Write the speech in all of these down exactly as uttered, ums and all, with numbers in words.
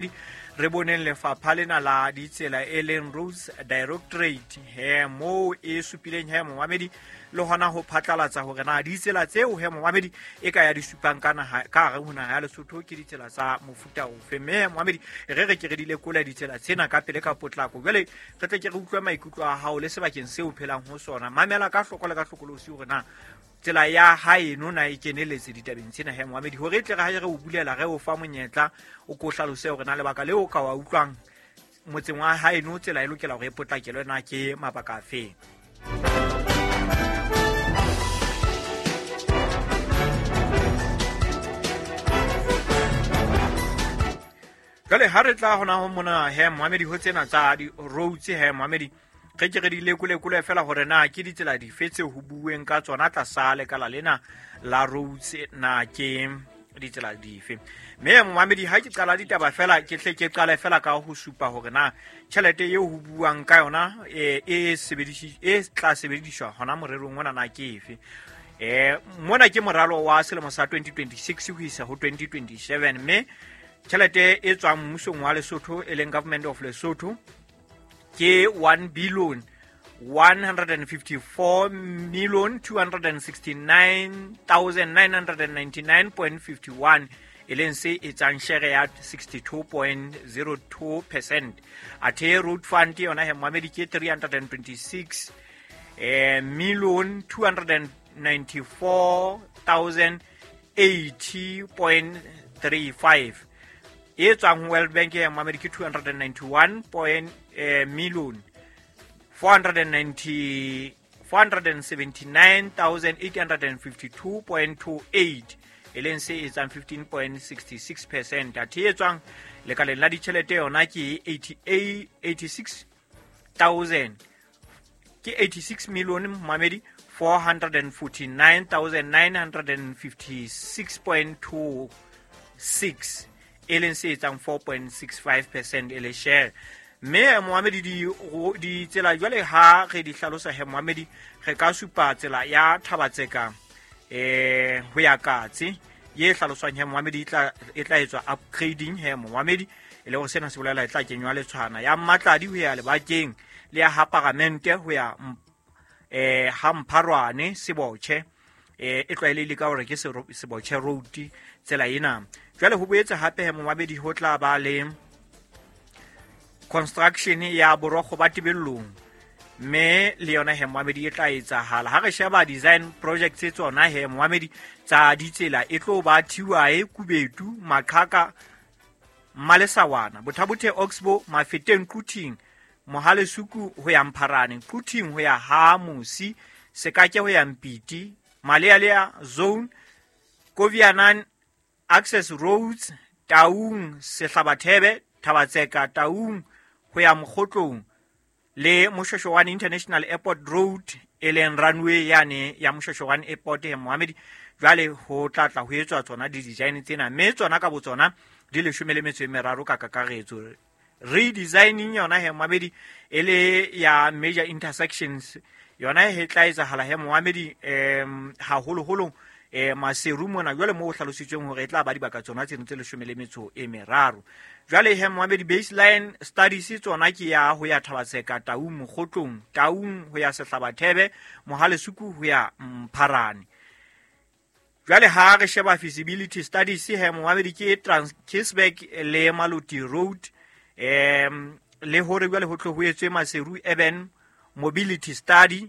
Re boneng lefapha lena la ditsela e leng Roads Directorate he moo e supileng he momamedi le hona ho phatlalatsa hore na ditsela tseo he momamedi e ka ya di supang ka naha ka hare ho naha ya Lesotho ke ditsela tsa mofuta ofe. Mme momamedi re re ke re di lekola ditsela tsena ka pele ka potlako. Jwale re tle ke re utlwe maikutlo a hao le sebakeng seo o phelang ho sona. Mamela ka hloko le ka hlokolosi hore na tsela ya haeno na e keneletse ditabeng tsena he momamedi, hore e tle re ha re o bulela re o fa monyetla o ko hlalose hore na lebaka leo ka wa utlwang motseng wa haeno tsela e lokela hore e potlakelwe na ke mabaka afe. Jwale ha re tla hona ho mona he momamedi ho tsena tsa di-roads he momamedi, re ke re di lekolekole fela hore na ke ditsela dife tse ho bueng ka tsona tlasa lekala lena la roads na ke ditsela dife. Mme momamedi ha ke qala ditaba fela ke hle ke qale fela ka ho supa hore na tjhelete eo ho buang ka yona e e sebedisi e tla sebediswa hona morerong ona na ke efe. Eh mona ke moralo wa selemo sa twenty twenty-six ho isa ho twenty twenty-seven, mme tjhelete e tswang mmusong wa Lesotho e leng Government of Lesotho ke one billion one hundred fifty-four million two hundred sixty-nine thousand nine hundred ninety-nine point five one, e leng se etsang share ya sixty-two point zero two percent. Athe road fund yona he momamedi ke three hundred twenty-six eh million two hundred ninety-four thousand eighty point three five. E tswang World Bank ya momamedi ke two hundred ninety-one point million four hundred ninety four hundred seventy-nine thousand eight hundred fifty-two point two eight, e leng se etsang fifteen point six six percent. Athe e tswang lekaleng la ditjhelete yona ke eighty-eight eighty-six thousand ke eighty-six million momamedi four hundred forty-nine thousand nine hundred fifty-six point two six, e leng se etsang four point six five percent e le share. Mme momamedi di ditsela jwale ha re di hlalosa he momamedi re ka supa tsela ya Thabatseka eh ho ya Katse ye hlaloswang he momamedi e tla e tla etswa upgrading he momamedi, e le hore sena se bolela e tla kenywa letshwana ya Mmatladi ho ya Lebakeng le ya ha Paramente ho ya eh ha Mpharwane Sebotjhe eh e tlwaelehile ka hore ke Sebotjhe Road tsela ena. Jwale ho boetse hape he momamedi ho tla ba le construction ya borokgo ba Tebellong, mme le yona he momamedi e tla etsahala. Ha re sheba design projects tse tsona he momamedi tsa ditsela e tlo ba Thiwae, Kubetu, Maqhaka, Malesawana, Bothabothe, Oxbow, Mafeteng, Quthing, Mohalesuku ho ya Mpharane, Quthing ho ya ha Musi, Sekake ho ya Mpiti, Malealea Zone, Kovianan Access Roads, Taung, Sehlabathebe, Thabatseka, Taung ho ya Mokgotlong le Moshoeshoe International Airport Road e leng runway yane ya Moshoeshoe Airport he momamedi. Jwale ho tla tla ho etswa tsona di-design tsena, mme tsona ka botsona di leshome le metso e meraro ka kakaretso. Redesigning yona he momamedi e le ya major intersections yona he tla etsahala he momamedi um haholoholo eh Maseru mona jwale moo ho hlalositsweng hore e tla ba dibaka tsona tseno tse leshome le metso e meraro. Jwale he momamedi baseline studies tsona ke ya ho ya Thabatseka, Taung, Mokgotlong, Taung ho ya Sehlabathebe, Mohalesuku ho ya Mpharane. Jwale ha re sheba feasibility studies he momamedi ke Transkisberg le Maluti Road, em le hore jwale ho tlo ho etswe Maseru Urban Mobility Study,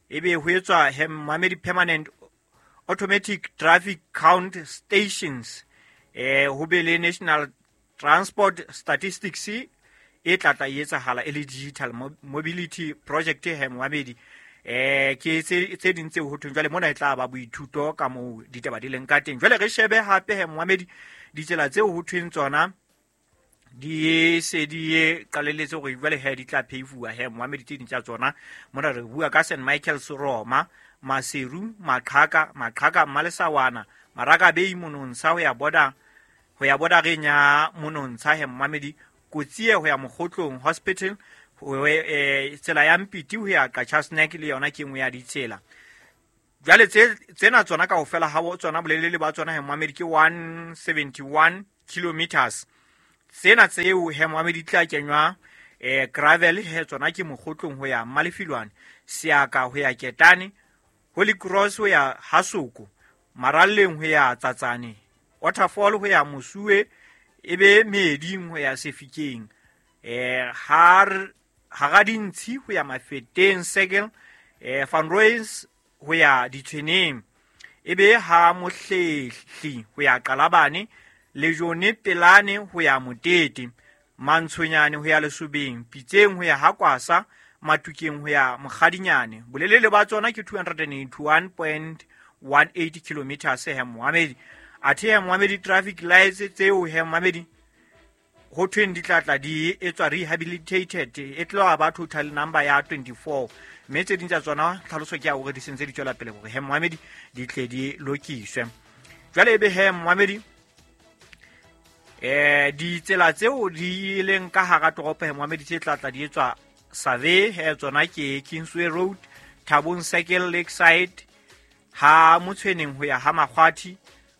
ebe ho etswa he momamedi permanent automatic traffic count stations, eh ho be le National Transport Statistics e tla tla etsahala e le digital mobility project he momamedi. Eh ke tse tse ding tseo ho thweng jwale mona e tla ba boithuto ka moo ditaba di leng ka teng. Jwale re shebe hape he momamedi ditsela tseo ho thweng tsona di se di qalelletse hore jwale he di tla peifuwa he momamedi tse ding tsa tsona. Mona re bua ka Saint Michael's Roma, Maseru, Maqhaka, Maqhaka, Malesawana, Maraka Bay, Monontsha ho ya border ho ya bordereng ya Monontsha he momamedi, Kotsie ho ya Mokgotlong Hospital, ho eh tsela ya Mpiti ho ya Qacha's Nek le yona ke nngwe ya ditsela. Jwale tse tsena tsona kaofela ha tsona bolelele ba tsona he momamedi ke one seventy-one kilometers. Tsena tseo he moamedi tla kenywa eh gravel he tsona ke Mokgotlong ho ya Mmalefilwane, Seaka ho ya Ketane, Holy Cross ho ya Hasoko, Maralleng ho ya Tsatsane, Waterfall ho ya Mosuwe, ebe Meding ho ya Sefikeng, eh har Haradintshi ho ya Mafeteng Circle, eh Van Rooyens ho ya Ditshweneng, ebe ha Mohlehli ho ya Qalabane, Lejone Pelane ho ya Motete, Mantshonyane ho ya Lesobeng, Pitseng ho ya Hakwasa, Matukeng ho ya Mokgadinyane. Bolelele ba tsona ke two hundred eighty-one point one eight kilometers he moamedi. Athe he moamedi traffic lights tseo he moamedi ho thweng di tla tla di etswa rehabilitated, e tla ba total number ya twenty-four. Mme tse ding tsa tsona tlhaloso ke ya hore di sentse di tswela pele hore he moamedi di tle di lokiswe. Jwale ebe he moamedi eh ditsela tseo di leng ka hara toropo he moamedi tse tla tla di etswa survey he tsona ke Kingsway Road, Thabong Circle, Lakeside, ha Motshweneng ho ya ha Makgwathi,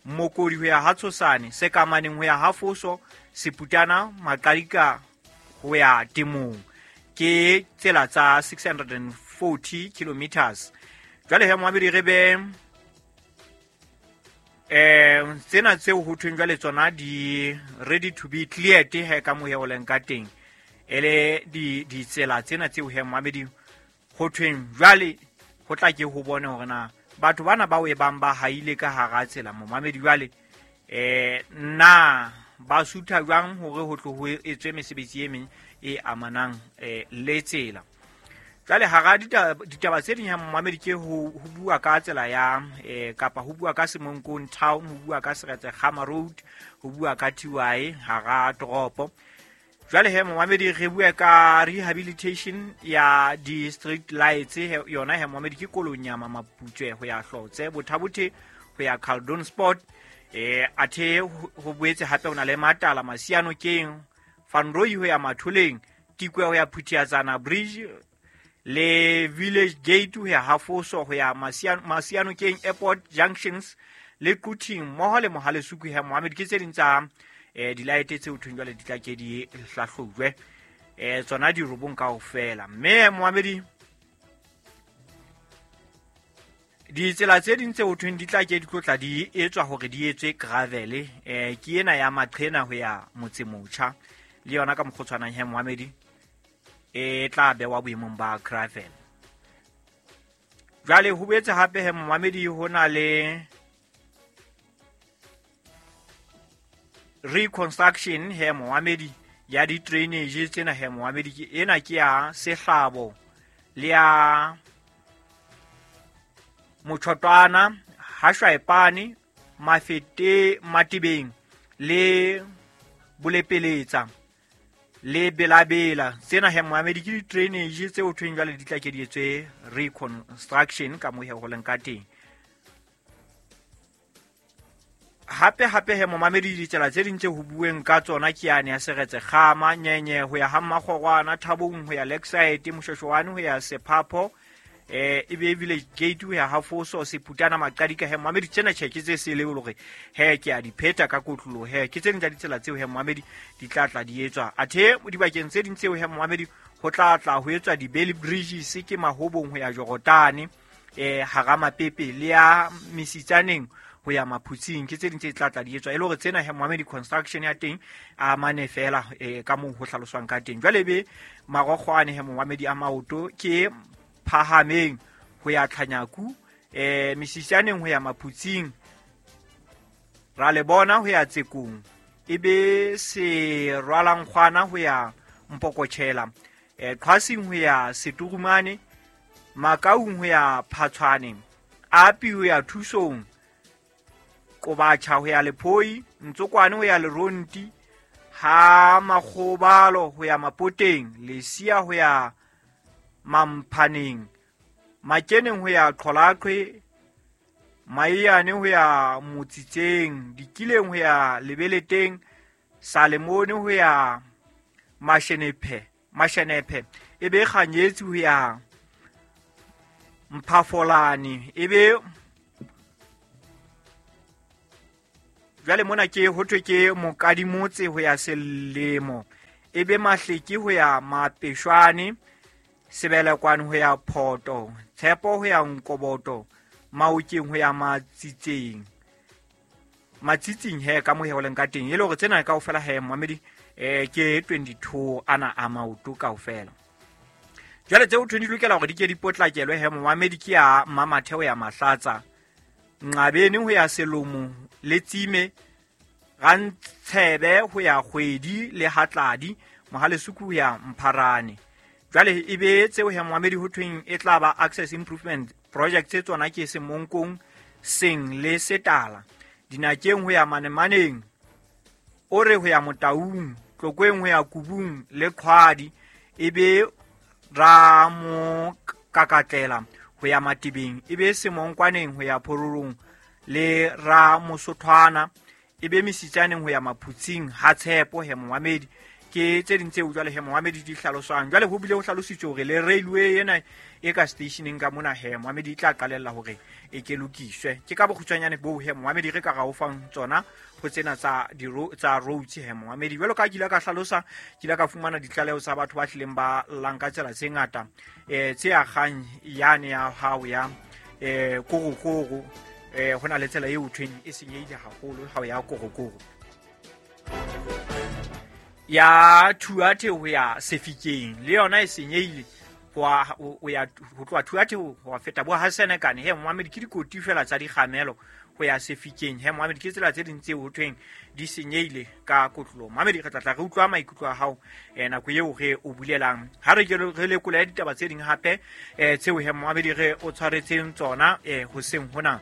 Mokodi ho ya ha Tshosane, Sekamaneng ho ya ha Foso, Seputana, Maqadika ho ya Temong. Ke tsela tsa six hundred forty kilometers. Jwale he moamedi re be eh tsena tseo ho thweng jwale tsona di ready to be cleared he ka mohe o leng ka teng. Ele di ditsela tsena tseo he moamedi ho thweng jwale ho tla ke ho bone hore na batho bana ba o ebang ba haile ka hara tsela momamedi jwale eh na ba sutha jwang hore ho tlo ho etswe mesebetsi e meng e amanang eh le tsela. Jwale hara ditaba tse ding ha momamedi ke ho bua ka tsela ya eh kapa ho bua ka Semonkong Town, ho bua ka Seretse Khama Road, ho bua ka T Y hara toropo. Jwale he momamedi re bua ka rehabilitation ya di street lights yona he momamedi ke Kolonyama Maputswe ho ya Hlotse, Bothabothe ho ya Caldon Sport, eh athe ho boetse hape hona le Matala Masiano keng, Van Rooy ho ya Matholeng, Tikwe ho ya Phuthiatsana Bridge le Village Gate ho ya Hafoso ho ya Masiano Masiano keng Airport Junctions le Quthing mmoho le Mohalesuku he momamedi ke tse ding tsa eh di-light tseo thweng jwale di tla ke di hlahlojwe eh tsona di robong kaofela. Mme moamedi ditsela tse ding tseo thweng di tla ke di tlotla di etswa hore di etswe gravel eh ke ena ya Maqhena ho ya Motsemotjha le yona ka mokgotshwanang he moamedi e tla bewa boemong ba gravel. Jwale ho boetse hape he moamedi ho na le reconstruction he moamedi ya di drainage tsena he moamedi ke ena ke ya Sehlabo le ya Motshotwana, Hashwaepane, Mafete, Matibeng le Bolepeletsa le Belabela. Tsena he moamedi ke di drainage tseo thweng jwale di tla ke di etswe reconstruction ka mo he ho leng ka teng. Hape hape he momamedi ditsela tse ding tse ho bueng ka tsona ke yane ya Seretse Khama, Nyenye ho ya ha Mmakgorwana, Thabong ho ya Lakeside, Moshweshwane ho ya Sephapho, eh ebe Village Gate ho ya Hafoso, Seputana, Maqadika he momamedi tsena tjhe ke tse sele hore he ke a di pheta ka kotlolo he ke tse ding tsa ditsela tseo he momamedi di tla tla di etswa. Athe dibakeng tse ding tseo he momamedi ho tla tla ho etswa di Bailey Bridges ke Mahobong ho ya Jorotane, eh hara Mapepe le ya Mesitsaneng ho ya Maphutsing ke tse ding tse tla tla di etswa e le hore tsena he moamedi construction ya teng a mane fela e ka moo ho hlaloswang ka teng. Jwale be marokgwane he moamedi a maoto ke Phahameng ho ya Tlhanyaku, eh Mesitsaneng ho ya Maphutsing, ra le bona ho ya Tsekong, ebe se rwalangkgwana ho ya Mpokotjhela, eh Qhasing ho ya Seturumane, Makaung ho ya Phatshwane, Api ho ya Thusong, Kobatjha ho ya Lephoi, Ntsokwane ho ya Leronti, ha Makgobalo ho ya Mapoteng, Lesia ho ya Mamphaneng, Makeneng ho ya Qholaqhwe, Maiyane ho ya Motsitseng, Dikileng ho ya Lebeleteng, Salemone ho ya Mashenephe, Mashenephe, ebe Kganyetsi ho ya Mphafolane, ebe Jwale mona ke ho thwe ke Mokadimotse ho ya Selemo, e be Mahleke ho ya Mapeshwane, Sebelekwane ho ya Photo, Tshepo ho ya Nkoboto, Maokeng ho ya Matsitseng. Matsitsing he ka mo he ho leng ka teng, e le hore tsena kaofela he momamedi eh ke twenty-two ana a maoto kaofela. Jwale tseo thwe di lokela hore di ke di potlakelwe he momamedi ke ya Mamatheo ya Mahlatsa, Nqabeni ho ya Selomo le Tsime, Rantshebe ho ya Kgwedi le Hatladi, Mohalesuku ho ya Mpharane. Jwale e be tseo he momamedi ho thweng e tla ba access improvement project tse tsona ke Semonkong, Seng le Setala, Dinakeng ho ya Manemaneng, Ore ho ya Motaung, Tlokweng ho ya Kubung le Qhwadi, e be Ramokakatlela ho ya Matibeng, e be Semonkwaneng ho ya Phororong le Ramosothwana, e be Mesitsaneng ho ya Maphutsing ha Tshepo he momamedi. Ke tse ding tseo jwale he momamedi di hlaloswang. Jwale ho bile ho hlalositswe hore le railway ena e ka stationeng ka mona he momamedi e tla qalella hore e ke lokiswe. Ke ka bokgutshwanyane boo he momamedi re ka ra o fang tsona ho tsena tsa di tsa roads he momamedi. Jwalo ka ke ile ka hlalosa, ke ile ka fumana ditlaleho tsa batho ba hlileng ba llang ka tsela tse ngata, eh tse akgang yane ya hao ya eh korokoro, eh ho na le tsela eo thweng e senyehile haholo ha o ya korokoro ya Thuathe ho ya Sefikeng, le yona e senyehile ho ya ho tloha Thuathe ho feta bo ha Senekane he momamedi ke dikoti fela tsa dikgamelo ho ya Sefikeng he momamedi. Ke tsela tse ding tseo ho thweng di senyehile ka kotlolo. Momamedi re tla tla re utlwa maikutlo a hao eh nako eo re o bulelang ha re ke re lekola ditaba tse ding hape eh tseo he momamedi re o tshwaretseng tsona eh hoseng hona.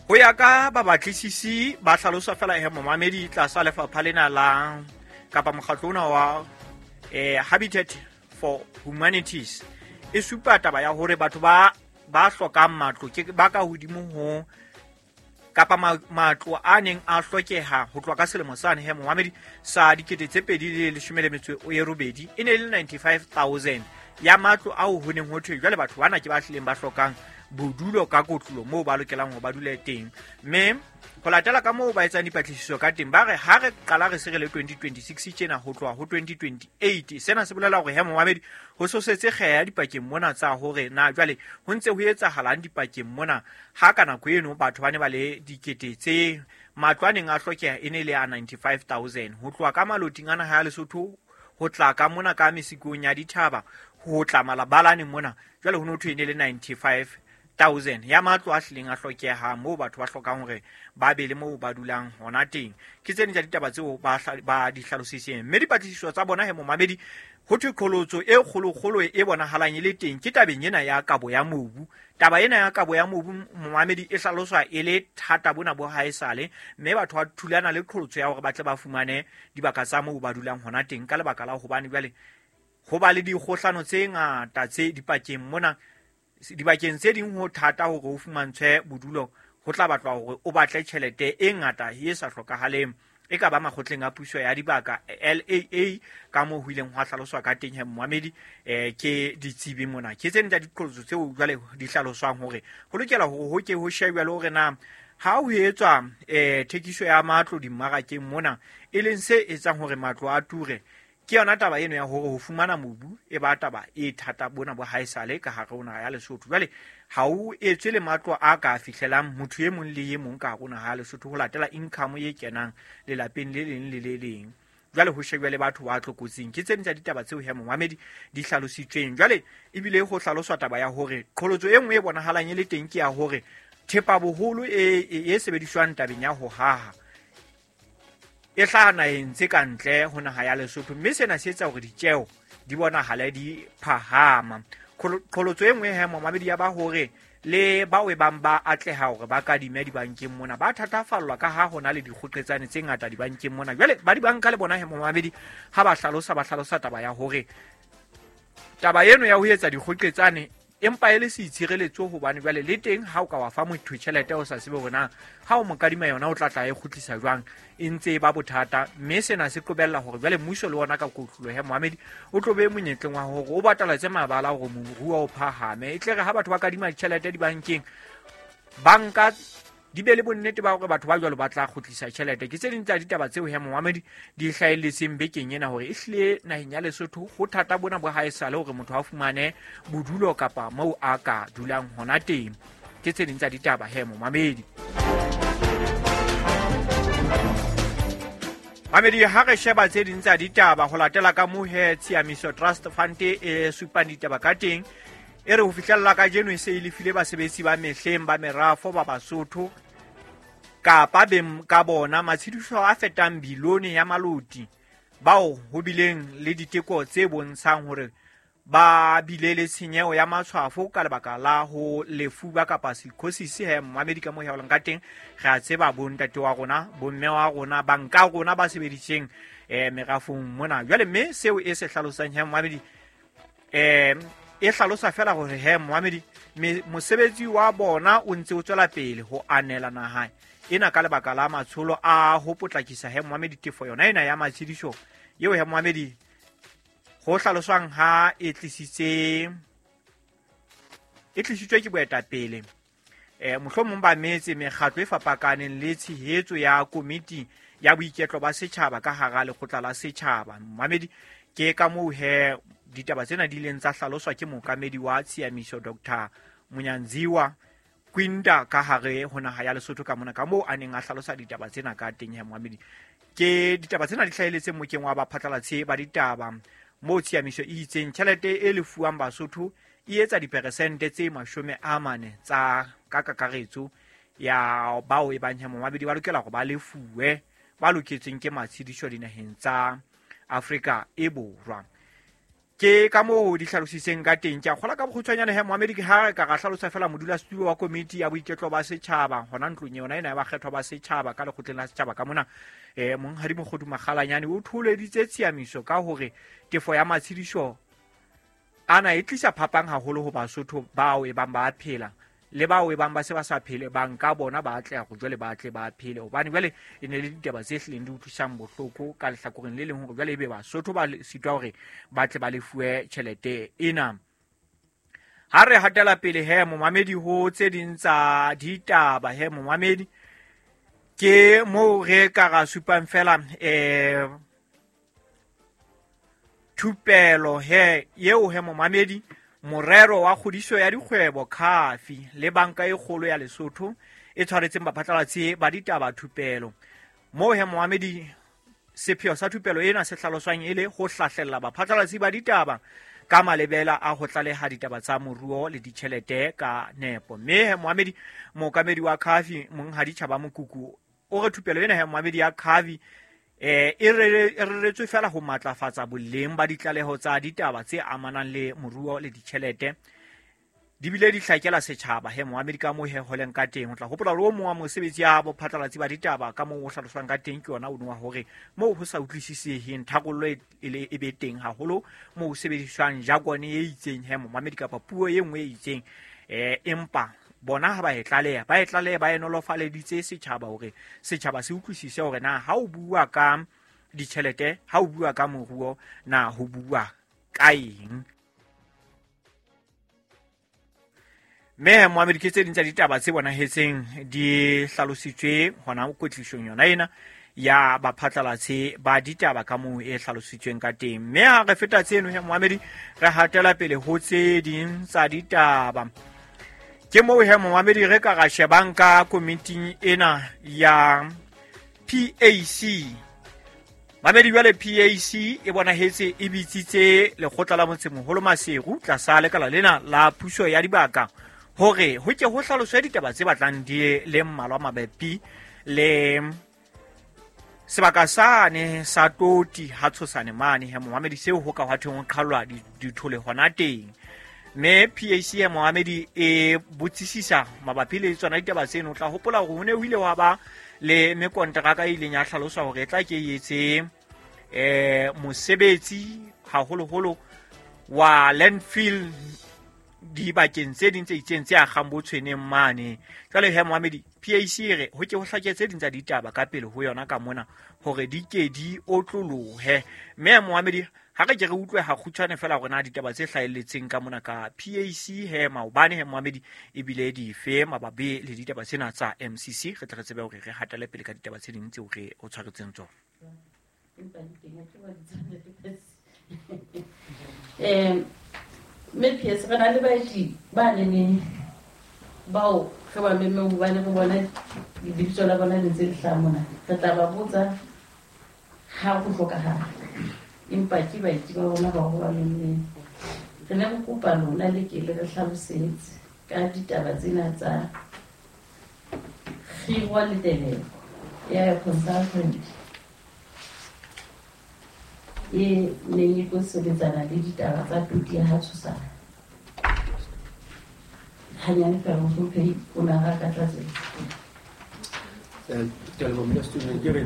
Ho ya ka babatlisisi ba hlalosa fela he momamedi tlasa lefapha lena la kapa mokgatlo ona wa eh Habitat for Humanities e supa taba ya hore batho ba ba hlokang matlo ke ba ka hodimo ho kapa matlo a neng a hlokeha ho tloha ka selemo sane he momamedi sa dikete tse pedi le leshome le metso e robedi e ne e le ninety-five thousand ya matlo ao ho neng ho thwe jwale batho bana ke ba hlileng ba hlokang bodulo ka kotlolo moo ba lokelang ho ba dule teng. Mme ho latela ka moo ba etsang dipatlisiso ka teng, ba re ha re qala re se re le twenty twenty-six tjena ho tloha ho twenty twenty-eight, sena se bolela hore he momamedi ho sosetse kgeya dipakeng mona tsa hore na jwale ho ntse ho etsahalang dipakeng mona ha ka nako eno batho ba ne ba le dikete tse matlo a neng a hlokeha e ne le a ninety-five thousand ho tloha ka maloting ana ha Lesotho ho tla ka mona ka mesikong ya dithaba ho tla malabalane mona jwale ho no thwe e ne le ninety-five thousand ya matlo a hlileng a hlokeha moo batho ba hlokang hore ba be le moo ba dulang hona teng. Ke tse ding tsa ditaba tseo ba ba di hlalositseng. Mme dipatlisiso tsa bona he momamedi ho thwe qholotso e kgolokgolo e bonahalang e le teng ke tabeng ena ya kabo ya mobu. Taba ena ya kabo ya mobu momamedi e hlaloswa e le thata bona bo haesale, mme batho ba thulana le qholotso ya hore ba tle ba fumane dibaka tsa moo ba dulang hona teng ka lebaka la hobane jwale ho ba le dikgohlano tse ngata tse dipakeng mona. Dibakeng tse ding ho thata hore o fumantshwe bodulo, ho tla batlwa hore o batle tjhelete e ngata e sa hlokahaleng e ka ba makgotleng a puso ya dibaka L A A ka moo ho ileng hwa hlaloswa ka teng he momamedi eh ke ditsebi mona. Ke tse ding tsa diqholotso tseo jwale di hlaloswang hore ho lokela hore ho ke ho shebwe le hore na ha ho etswa eh thekiso ya matlo dimmarakeng mona e leng se etsang hore matlo a ture. Ke yona taba eno ya hore ho fumana mobu e ba taba e thata bona bo haesale ka hare ho naha ya Lesotho. Jwale ha o etswe le matlo a ka fihlelang motho e mong le e mong ka hare ho naha ya Lesotho ho latela income e kenang lelapeng le leng le le leng. Jwale ho shebwe le batho ba tlokotsing. Ke tse ding tsa ditaba tseo he momamedi di hlalositsweng. Jwale ebile ho hlaloswa taba ya hore qholotso e nngwe e bonahalang e le teng ke ya hore thepa boholo e e sebediswang tabeng ya ho haha e hlaha naheng tse ka ntle ho naha ya Lesotho, mme sena se etsa hore ditjeo di bonahale di phahama. Qholotso e nngwe he momamedi ya ba hore le bao e bang ba atleha hore ba kadime dibankeng mona ba thatafallwa ka ha hona le dikgoqetsane tse ngata dibankeng mona. Jwale ba dibanka le bona he momamedi ha ba hlalosa ba hlalosa taba ya hore taba eno ya ho etsa dikgoqetsane Empa e le seitshireletso hobane jwale le teng ha o ka wa fa motho tjhelete o sa tsebe hore na ha o mo kadima yona o tla tla e kgutlisa jwang, e ntse e ba bothata. Mme sena se qobella hore jwale mmuso le wona ka kotloloho he momamedi o tlo be monyetleng wa hore o bataletse mabala hore moruo o phahame. E tle re ha batho ba kadima ditjhelete dibankeng, banka di be le bonnete ba hore batho ba jwalo ba tla kgutlisa tjhelete. Ke tse ding tsa ditaba tseo he momamedi di hlahelletseng bekeng ena hore ehlile naheng ya Lesotho ho thata bona bo haesale hore motho a fumane bodulo kapa moo a ka dulang hona teng. Ke tse ding tsa ditaba he momamedi. Mamedi, ha re sheba tse ding tsa ditaba ho latela ka moo he Tshiamiso Trust Fund e supang ditaba ka teng, e re ho fihlella kajeno e se e lefile basebetsi ba mehleng ba merafo ba Basotho kapa beng ka bona matshediso a fetang bilione ya maloti, bao ho bileng le diteko tse bontshang hore ba bile le tshenyeho ya matshwafo ka lebaka la ho lefuba kapa silicosis. He momamedi, ka moo he ka teng re a tseba bontate wa rona, bomme wa rona, banka rona ba sebeditseng eh merafong mona jwale. Mme seo e se hlalosang he momamedi eh e hlalosa fela hore he momamedi mosebetsi wa bona o ntse o tswela pele ho anela naha ena ka lebaka la matsholo a ho potlakisa he momamedi tefo yona ena ya matshediso eo he momamedi ho hlaloswang ha e tlisitse e tlisitswe ke boetapele eh mohlomong ba metse mekgatlo e fapakaneng le tshehetso ya komiti ya boiketlo ba setjhaba ka hara lekgotla la setjhaba. Momamedi, ke ka moo he ditaba tsena di ileng tsa hlaloswa ke mookamedi wa Tshiamiso Doctor Munyanziwa Kwinda ka hare ho naha ya Lesotho ka mona, ka moo a neng a hlalosa ditaba tsena ka teng he momamedi. Ke ditaba tsena di hlahelletseng mokeng wa baphatlalatsi ba ditaba moo Tshiamiso e itseng tjhelete e lefuwang Basotho e etsa diperesente tse mashome a mane tsa ka kakaretso ya bao e bang he momamedi ba lokela hore ba lefuwe ba loketsweng ke matshediso dinaheng tsa Afrika e Borwa. Ke ka moo di hlalositseng ka teng. Ke a kgola ka bokgutshwanyane he momamedi ha re ka ra hlalosa fela modulasetulo wa komiti ya boiketlo ba setjhaba hona ntlong yona ena ya bakgethwa ba setjhaba ka lekgotleng la setjhaba ka mona eh monghadi Mokgodu Makgalanyane o tholeditse Tshiamiso ka hore tefo ya matshediso ana e tlisa phapang haholo ho Basotho bao e bang ba phela le bao e bang ba se ba sa phele, banka bona ba atleha go jwale ba tle ba phele, hobane jwale e ne le ditaba tse hlileng di utlwisang bohloko ka lehlakoreng le leng hore jwale ebe Basotho ba sitwa hore ba tle ba lefuwe tjhelete ena. Ha re hatela pele he momamedi ho tse ding tsa ditaba he momamedi, ke moo re ka ra supang fela eh thupelo he eo he momamedi morero wa kgodiso ya dikgwebo Khafi le banka e kgolo ya Lesotho e tshwaretseng baphatlalatsi ba ditaba thupelo. Moo he momamedi sepheo sa thupelo ena se hlaloswang e le ho hlahlella baphatlalatsi ba ditaba ka malebela a ho tlaleha ditaba tsa moruo le ditjhelete ka nepo. Mme he momamedi mookamedi wa Khafi monghadi Tjhaba Mokuku o re thupelo ena he momamedi ya Khafi eh e reretswe fela ho matlafatsa boleng ba ditlaleho tsa ditaba tse amanang le moruo le ditjhelete, di bile di hlakela setjhaba he momamedi ka moo he holeng ka teng. O tla hopola hore o mong wa mosebetsi ya bophatlalatsi ba ditaba ka moo o hlaloswang ka teng ke yona o wa hore moo ho sa utlwisiseheng tharollo e le e be teng haholo moo ho sebediswang jargon e itseng he momamedi kapa puo e nngwe e itseng eh empa bona ha ba e tlaleha ba e tlaleha ba e nolofaleditse setjhaba hore setjhaba se utlwisise hore na ha o bua ka ditjhelete, ha o bua ka moruo, na ho bua ka eng. Mme momamedi ke tse ding tsa ditaba tse bonahetseng di hlalositswe hona kwetlisong yona ena ya baphatlalatsi ba ditaba ka moo e hlalositsweng ka teng. Mme ha re feta tseno he momamedi re hatela pele ho tse ding tsa ditaba. Ke moo he momamedi re ka ra shebang ka komiting ena ya P A C. Mamedi jwale P A C e bonahetse e bitsitse lekgotla la motsemoholo Maseru tlasa lekala lena la puso ya dibaka hore ho ke ho hlaloswe ditaba tse batlang di le mmalwa mabapi le sebaka sane sa Toti ha Tshosane mane he momamedi seo ho ka hwa thweng ho qhallwa dithole hona teng. Mme P A C ya momamedi e botsisisa mabapi le tsona ditaba tseno. O tla hopola hore ho ne ho ile wa ba le mekonteraka e ileng ya hlaloswa hore e tla ke etse eh mosebetsi haholoholo wa landfill dibakeng tse ding tse itseng tse akgang bo tshweneng mane. Jwale he moamedi, P A C e re ho ke ho hlake tse ding tsa ditaba ka pele ho yona ka mona hore di ke di otlolohe. Mme moamedi, ha re ke re utlwe ha kgutshwane fela hore na ditaba tse hlahelletseng ka mona ka P A C he maobane he moamedi ebile dife mabapi le ditaba tsena tsa M C C, re tle re tsebe hore re hatele pele ka ditaba tse ding tseo re o tshwaretseng tsona. Eh, mme P S, re na le baeti ba neneng bao re ba memmeng hobane re bona lebitso la bona le ntse le hlaha mona. Re tla ba botsa ha ho hlokahala, empa ke baeti ba rona bao re ba memmeng. Re ne re kopa lona le ke le re hlalosetse ka ditaba tsena tsa kgiro le teleko ya consultant e neng e tlo sebetsana le ditaba tsa toti ya ha Tshosana. Hanyane fela mohlomphehi o ne a re ka tlatsetsa. Eh, ke a leboha modulasetulo. Ke re,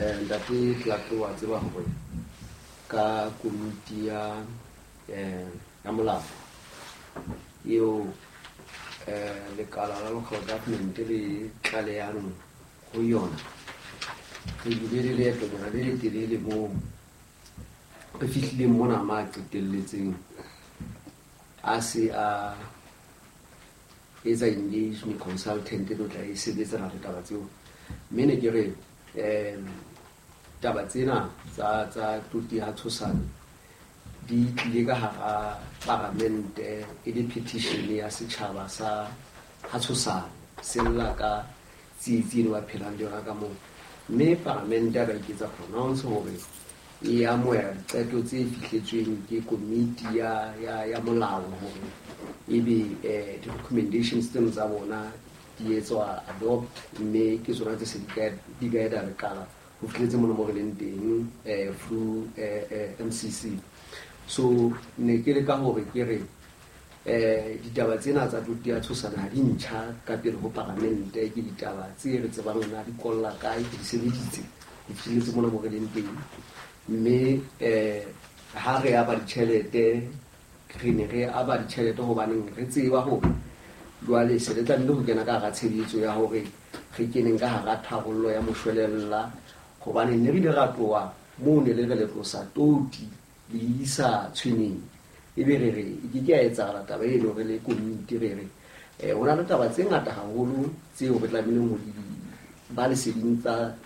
eh, ntate Clark wa tseba hore ka komiti ya, eh, ya molao eo, eh, lekala la local government le tlalehang ho yona, re bile le leetonyana le letelele moo re fihlileng mona ma qetelletseng a se a etsa engagement consultant e tlo tla e sebetsana le taba tseo. Mme ne ke re, eh, taba tsena tsa, tsa toti ya Tshosane di tlile ka hara paramente e le petition ya setjhaba sa ha Tshosane se lla ka tsietsi eno ba phelang le yona ka moo. Mme paramente ya ba iketsa pronounce hore e amohela diqeto tse fihletsweng ke komiti ya, ya, ya molao hore ebe, eh, di-recommendations tseno tsa bona di etswa adopt, mme ke tsona tse se di ka, di guide lekala ho fihletse mona mo re leng teng, eh, through, eh, eh, M C C. So ne ke leka hore ke re, eh, ditaba tsena tsa toti ya Tshosane ha di ntjha ka pele ho paramente, ke ditaba tse re tsebang na di kolla kae, ke di sebeditse ho fihletse mona mo re leng teng. Mme, eh, ha re aba ditjhelete, re ne re aba ditjhelete hobaneng re tseba hore jwale se re tlamehile ho kena ka hara tshebetso ya hore re keneng ka hara tharollo ya moshwelella, hobane ne re ile ra tloha moo ne le re le tlosa toti le isa tshweneng, ebe re re e ke ke ya etsahala taba eno re le komiti re re, eh, ho na le taba tse ngata haholo tseo re tlamehileng ho di ba leseding tsa,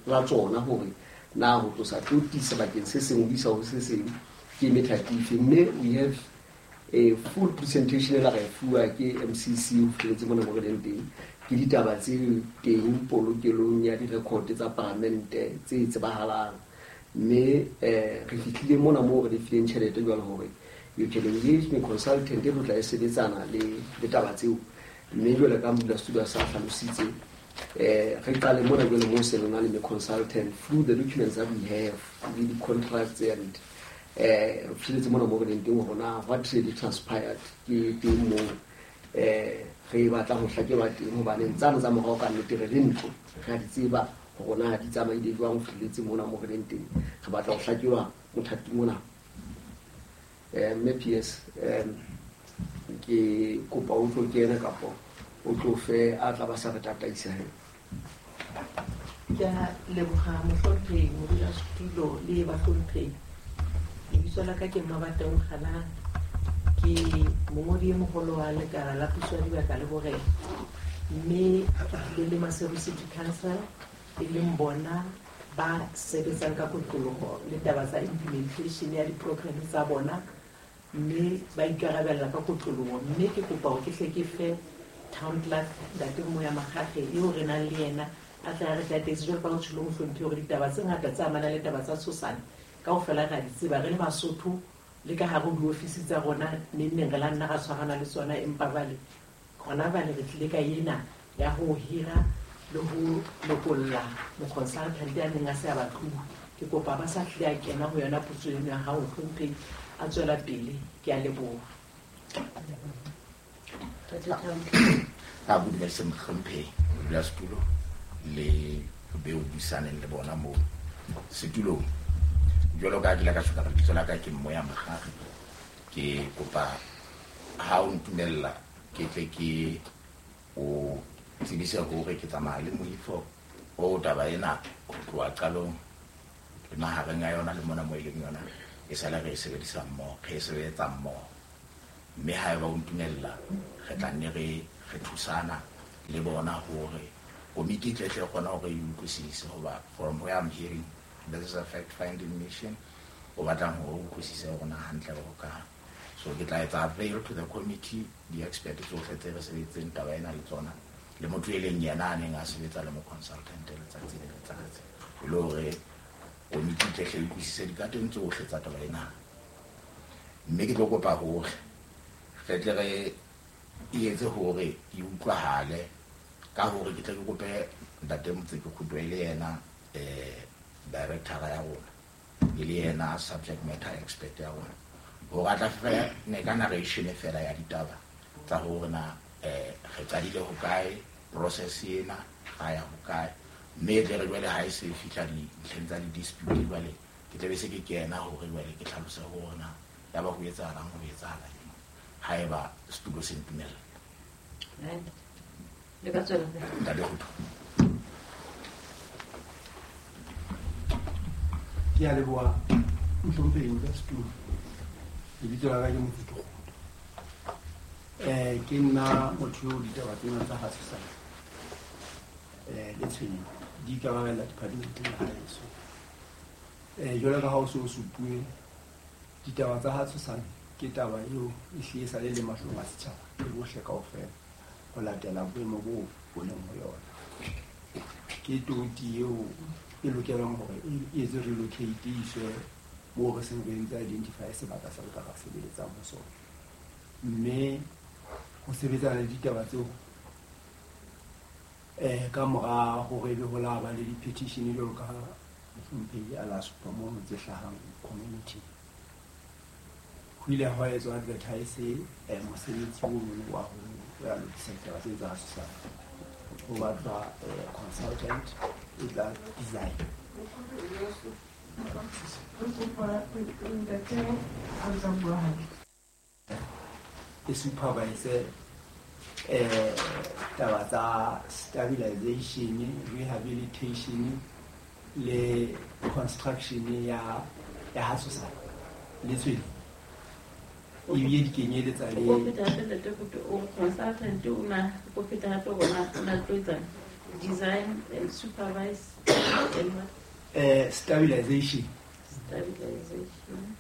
la tsona hore na ho tlosa toti sebakeng se seng ho isa ho se seng ke methati efe. Mme we have a full presentation e la re fuwa ke M C C ho fihletse mona mo re leng teng. Ke ditaba tse teng polokelong ya di-record tsa paramente tse tsebahalang. Mme, eh, re fihlile mona moo re lefileng tjhelete jwalo hore you can engage me consultant e tlo tla e sebetsana le, le taba tseo. Mme jwale ka modulasetulo a sa hlalositse, eh, re qale mona jwale moo se re na le consultant through the documents that we have, le di-contracts and, eh, re fihletse mona moo re leng teng hore na what really transpired ke teng moo, eh, re batla ho hlakelwa teng, hobane tsane tsa morao ka nnete re le ntlo, re a di tseba hore na di tsamaile jwang ho fihletse mona moo re leng teng. Re batla ho hlakelwa mothating mona. Eh, mme P S, eh, ke kopa o tlo kena kapo o tlo fe a tla ba sa re tataisa he. Ke a leboha mohlomphehi modulasetulo le bahlomphehi. Lebitso la ka ke Mmabateng Kgalang, ke mongodi e moholo wa lekala la puso ya dibaka le borena, mme ke tlile le Maseru City Council e leng bona ba sebetsang ka kotloloho le taba tsa implementation ya di-program tsa bona, mme ba ikarabella ka kotloloho. Mme ke kopa hore ke hle ke fe town clerk ntate Moya Makgakge eo re nang le yena a tla re tataise jwalo ka ho tjholo mohlomphehi hore ditaba tse ngata tse amanang le taba tsa Tshosane kaofela re a di tseba re le Basotho le ka hare ho diofisi tsa rona neng neng re la nna ra tshwarana le tsona, empa jwale hona jwale re tlile ka ena ya ho hira le ho lokolla moconsultant ya neng a se a batluwa. Ke kopa ba sa hlile a kena ho yona potso eno ya hao mohlomphehi, a tswela pele. Ke a leboha. A dumedise mohlomphehi modulasetulo le be o buisaneng le bona moo setulong. Jwalo ka ke ile ka tjho ka lebitso la ka ke Moya Makgakge, ke kopa Ha o ntumella ke tle ke o tsebise hore ke tsamaya le moifo o taba ena ho tloha qalong le mahareng a yona le mona mo e leng yona e sale re e sebedisa mmoho, re e sebetsa mmoho. Mme haeba o ntumella re tla nne re re thusana le bona hore komiti e tle tle kgona hore e utlwisise, hoba from where I'm hearing this is a fact finding mission o batlang hore o utlwisise hore na hantle re hokae. So ke tla etsa avail to the committee di-expert tsohle tse re sebeditseng taba ena le tsona, le motho e leng yena a neng a sebetsa le mo consultant letsatsi le letsatsi, e le hore komiti e tle hle e utlwisise dikateng tsohle tsa taba ena. Mme ke tlo kopa hore re tle re e etse hore e utlwahale ka hore ke tle ke kope ntate Motseki Kguto e le yena eh director ya rona, e le yena subject matter expert ya rona, hore a tla fane ka narration fela ya ditaba tsa hore na eh re qadile hokae, process ena ga ya hokae, mme tle re jwale ha e se fihla dintlheng tsa di-dispute jwale ke tla be se ke kena hore jwale ke hlalose hore na ya ba ho etsahalang, ho etsahala eng haeba setulo se ntumella. Le ka tswela pele. Ntate Kguto. Ke a leboha mohlomphehi ka setulo. Lebitso la ka ke Motseki Kguto. Eh ke nna motho eo ditaba tsena tsa ha Tshosane eh le Tshweneng di ikarabella departmenteng ya haeso. Eh jwalo ka ha o se o supuwe, ditaba tsa ha Tshosane ke taba eo e hlile e sa le le mahlong a setjhaba le bohle kaofela ho latela boemo bo bo leng ho yona. Ke toti eo e lokelang hore e etse relocate e iswe moo re seng re entse identify sebaka se re ka sebeletsang ho sona. Mme ho sebetsana le ditaba tseo eh ka mora hore ebe ho la ba le di-petition jwalo ka mohlomphehi a la supa mono tse hlahang community, ho ile hwa etswa advertise eh mosebetsi ono wa ho ya lokisa ditaba tse tsa Tshosane. Ho batlwa consultant e tla design. E supervise eh taba tsa stabilization, rehabilitation le construction ya ya ha Tshosane le Tshweneng. Ebile di kenyeletsa le O feta hape ntate Kguto, o consultant o na o feta hape rona o na tlo etsa design and supervise and what? Eh stabilization, stabilization,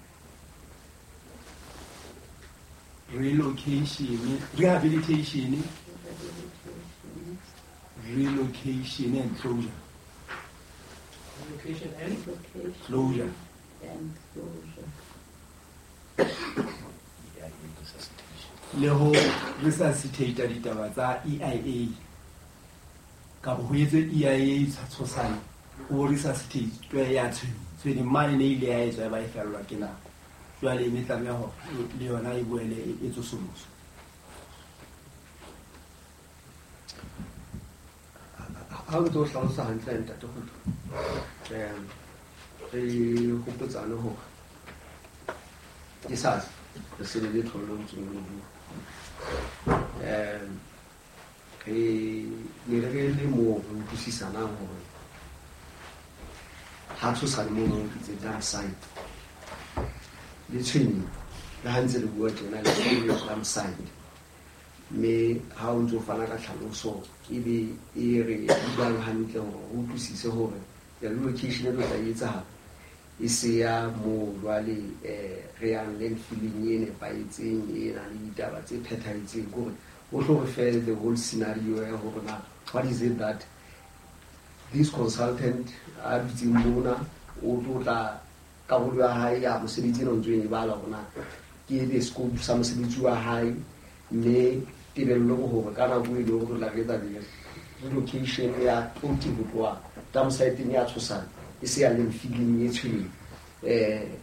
relocation, rehabilitation, relocation and closure. Relocation and closure. And closure. Le ho resuscitate ditaba tsa E I A. Ka ho etse E I A Tshosane, o resuscitate ya Tshweneng. Tshweneng mane ne ile ya etswa ba e fellwa ke nako. Jwale e tlameha hore le yona e boele e tsosoloswe. Ha o ntso hlalosa hantle ntate Kguto, eh re hopotsane hore ke sa re se le tholong tsong le bua. Eh re ne re le mo re utlwisisanang hore ha Tshosane mono itse dump site le Tshweneng le ha ntse re bua tjena le dump site, mme ha o ntso fana ka tlhaloso ebe e re buang hantle hore o utlwisise hore relocation e tlo tla etsahala e se ya moo jwale eh re yang landfilling e nepahetseng e nang le ditaba tse phethahetseng, kore o tlo re fe the whole scenario ya hore na what is it that this consultant a dutseng mona o tlo tla karolo ya hae ya mosebetsi ena o ntso e bala hore na ke the scope sa mosebetsi wa hae, mme tebello ke hore ka nako e leng hore re tla re etsa relocation ya toti ho tloha dump site-eng ya Tshosane e se ya landfilling e Tshweneng. Eh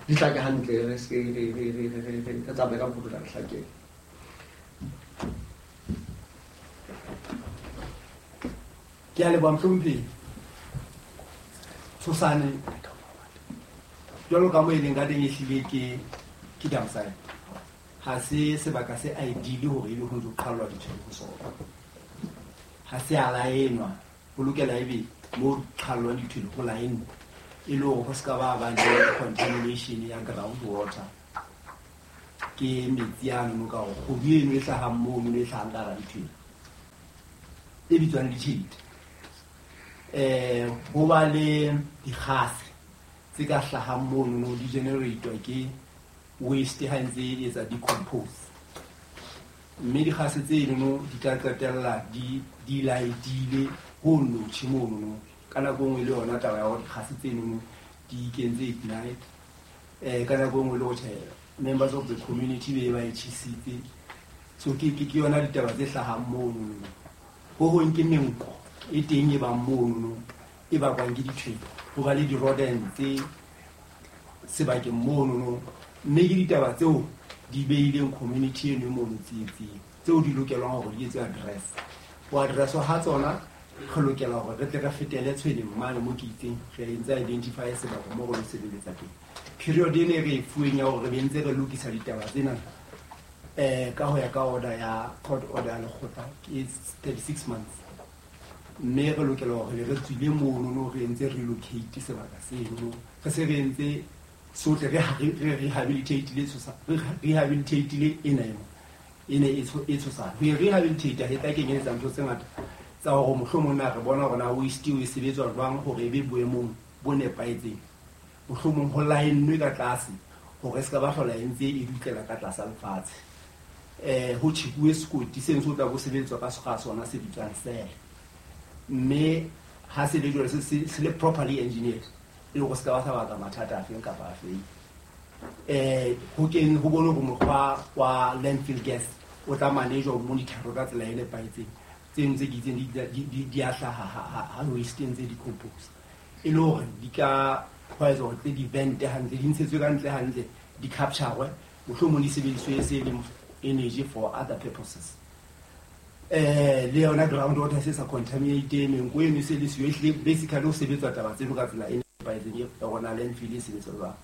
di hlake hantle, re se re re re re re tsamaye ka mokgwa o tla re hlakela. Ke a leboha mohlomphehi. Tshosane jwalo ka mo e leng ka teng ehlile ke ke dump site. Ha se sebaka se ideal hore ebe ho ntso qhallwa ditshwele ho sona. Ha se a laenwa, ho lokela ebe mo qhallwang dithwele ho laenwa e le hore ho ska ba ba le contamination ya ground water. Ke metsi ano ka hore kgodu eno e hlahang mono e hlahang ka hara dithwele e bitswang ditshedi. Eh ho ba le dikgase tse ka hlahang mono di generate ke waste ha ntse e etsa decompose. Mme dikgase tse eno di tla qetella di di laetile ho notshi mono. Ka nako nngwe le yona taba ya hore dikgase tse eno di ikentse ignite. Eh ka nako nngwe le ho tjhe members of the community be ba e tjhisitse. So ke ke yona ditaba tse hlahang mono. Ho hong ke menko e teng e bang mono e bakwang ke ditshwele. Ho ba le di-rodents tse sebakeng mono. Mme ke ditaba tseo di beileng community eno mono tsietsing tseo di lokelwang hore di etswe address. Ho address-wa ha tsona re lokela hore re tle re fetele tshweleng mane mo ke itseng re ntse identify sebaka mo re lo sebeletsa teng. Period ene re e fuweng ya hore re be ntse re lokisa ditaba tsena eh ka ho ya ka order ya court order ya lekgotla ke thirty-six months. Mme re lokela hore re tswile mono no re ntse relocate sebaka seno. Re se re entse sohle re re rehabilitate tshosa re rehabilitate ena ena ene e tshosa. Ho rehabilitate he tla kenyetsa ntho tse ngata tsa hore mohlomong na re bona hore na waste e sebetswa jwang hore e be boemong bo nepahetseng. Mohlomong ho laennwe ka tlase hore se ka ba hlola e ntse e dutlela ka tlasa lefatshe. Eh ho tjhekuwe sekoti seno se tla bo sebetswa ka sekga sona se bitswang sele. Mme ha se le jwalo se se le properly engineered e le hore se ka ba sa baka mathata afeng kapa afeng. Eh ho keng ho bone hore mokgwa wa landfill gas o tla manage ho monitor ka tsela e nepahetseng. Tseno tse ke itseng di di di a hlaha ha ha waste ntse di compose. E le hore di ka hwa etsa hore di vent hantle, di ntshetswe ka ntle hantle, di capture mohlomong di sebediswe se le energy for other purposes. Eh le yona ground water se sa contaminate menko eno se le siyo ehlile basically ho sebetswa taba tseno ka tsela e nepahetseng ya rona landfill e sebetswa jwang.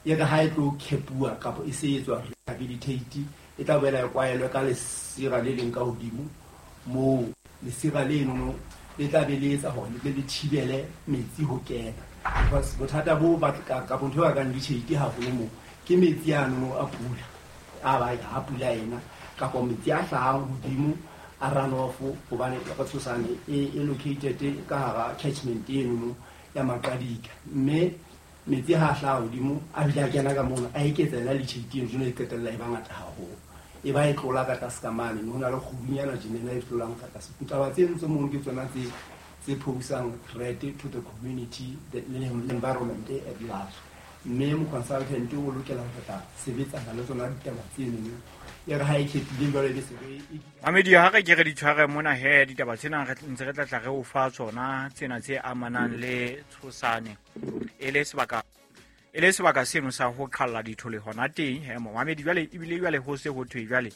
E re ha e tlo kepuwa kapa e se etswa rehabilitate e tla boela e kwaelwe ka lesira le leng ka hodimo moo lesira leno le tla be le etsa hore le tle le thibele metsi ho kena. Because bothata bo ba ka ntho e bakang ditjheiti haholo moo ke metsi ano a pula a ba ha pula ena kapa metsi a hlahang hodimo a runoff hobane ka tshosane e e located ka hara catchment eno ya Maqadika. Mme metsi ha hlaha hodimo a bile a kena ka mona a eketsa yona ditjheiti eno jwale e qetella e ba ngata haholo. E ba e tlola ka tlase ka mane ho na le kgudunyana tjena e tlolang ka tlase. Ditaba tseno tse mono ke tsona tse tse posang threat to the community, the environment at large. Mme mo consultant o lokela ho tla sebetsana le tsona ditaba tseno. E re ha e khethile jwale e be se re Mamedi ha re ke re di tshware mona he ditaba tsena re ntse re tla tla re o fa tsona tsena tse amanang le tshosane e le sebaka e le sebaka seno sa ho qhalla dithole hona teng he momamedi jwale ebile jwale ho se ho thwe jwale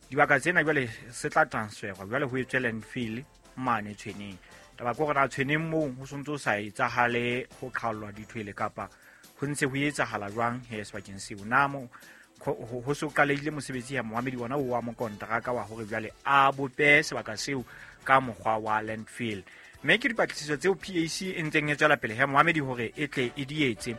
dibaka tsena jwale se tla transferwa jwale ho etswe landfill mane tshweneng. Taba ke hore na tshweneng moo ho sontso sa etsahale ho qhallwa dithwele kapa ho ntse ho etsahala jwang he sebakeng seo. Na mo ho so qalehile mosebetsi ya momamedi ona o wa mokontraka wa hore jwale a bope sebaka seo ka mokgwa wa landfill. Mme ke dipatlisiso tseo P A C e ntseng e tswela pele he momamedi hore e tle e di etse.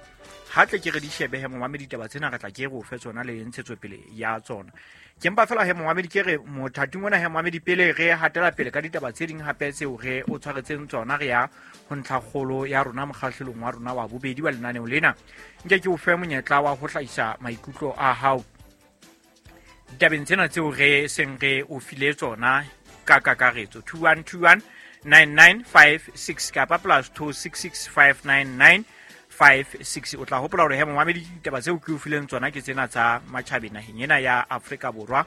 Ha tle ke re di shebe he momamedi ditaba tsena re tla ke re o fe tsona le ntshetsopele ya tsona. Ke mpa fela he momamedi ke re mothating ona he momamedi pele re hatela pele ka ditaba tse ding hape tseo re o tshwaretseng tsona re ya ho ntlhakgolo ya rona mokgahlelong wa rona wa bobedi wa lenaneo lena. Nke ke o fe monyetla wa ho hlahisa maikutlo a hao ditabeng tsena tseo re seng re o file tsona ka kakaretso. Two one two one nine nine five six kapa plus two six six five nine nine five six. O tla hopola hore he momamedi ditaba tseo ke o fileng tsona ke tsena tsa matjhabeng naheng ena ya Afrika Borwa,